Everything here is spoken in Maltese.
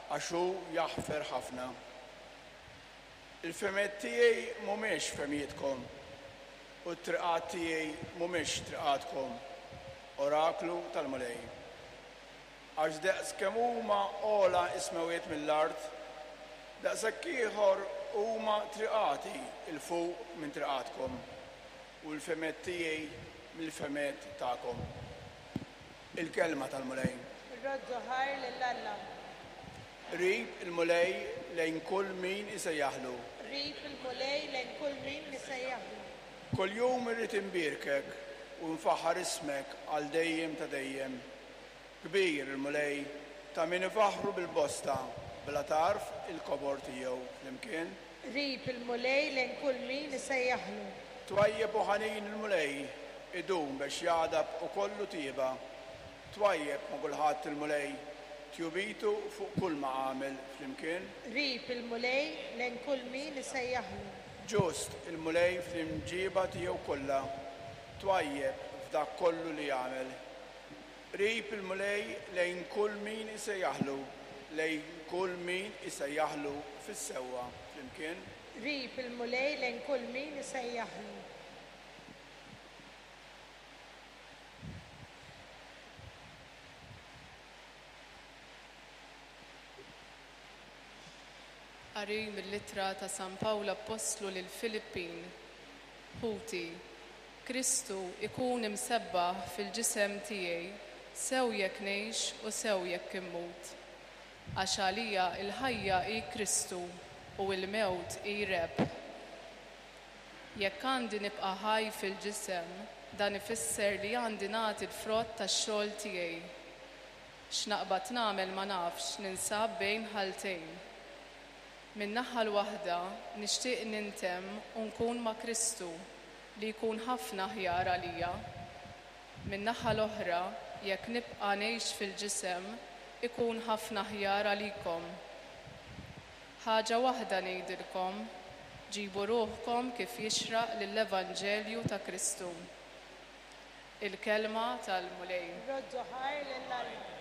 għax hu jaħfer ħafna. Il-fehmiet tiegħi mhumiex fehmietkom, u t-triqat tiegħi mhumiex triqatkom, oraklu tal-Mulej. Għax daqs kemm huma ogħla s-smewwiet mill-art, daqshekk ieħor huma triqati 'l fuq minn triqatkom, u l-fehmiet tiegħi mill-fehmiet tagħkom. Il-Kelma tal-Mulej. Irroddu ħajr lil Alla. Qrib il-Mulej lejn kull min isejjaħlu. Qrib il-Mulej lejn kull min isejjaħlu. Kuljum irrid inbierkek u nfaħħar ismek għal dejjem ta' dejjem. Kbir il-Mulej, ta' min ifaħħru bil-bosta, bla tarf il-kobor tiegħu flimkien. Qrib il-Mulej lejn kull min isejjaħlu. Twajjeb u ħanin il-Mulej, idum bex jagħdab u kollu tjieba. Twajjeb ma' kulħadd il-Mulej, tjubitu fuq kulma għamel flimkien. Qrib il-Mulej lejn kull min isejjaħlu. Ġust il-Mulej fl-imġieba tiegħu kollha, twajjeb f'dak kollu li jagħmel. Qrib il-Mulej lejn kull min isejjaħlu, lejn kull min isejjaħlu fis-sewwa flimkien. Qrib il-Mulej lejn kull min isejjaħlu. Qari mill-Ittra ta' San Pawl Appostlu lill-Filippin. Ħuti, Kristu jkun imsebbaħ fil-ġisem tiegħi sew jekk ngħix u sew jekk immut. Għax għalija l-ħajja hi Kristu u l-mewt hi rebħ. Jekk għandi nibqa' ħaj fil-ġisem, dan ifisser li għandi nagħti l-frott tax-xogħol tiegħi. X'naqbad nagħmel ma nafx, ninsab bejn ħaltejn. Min-naħa l-waħda, nixtieq nintemm u nkun ma' Kristu, li jkun ħafna aħjar għalija. Min-naħa l-oħra, jekk nibqa' ngħix fil-ġisem, ikun ħafna aħjar għalikom. Ħaġa waħda ngħidilkom, ġibu ruħkom kif jixraq lill-evanġelju ta' Kristu. Il-Kelma tal-Mulej. Roddu ħajr lil Alla.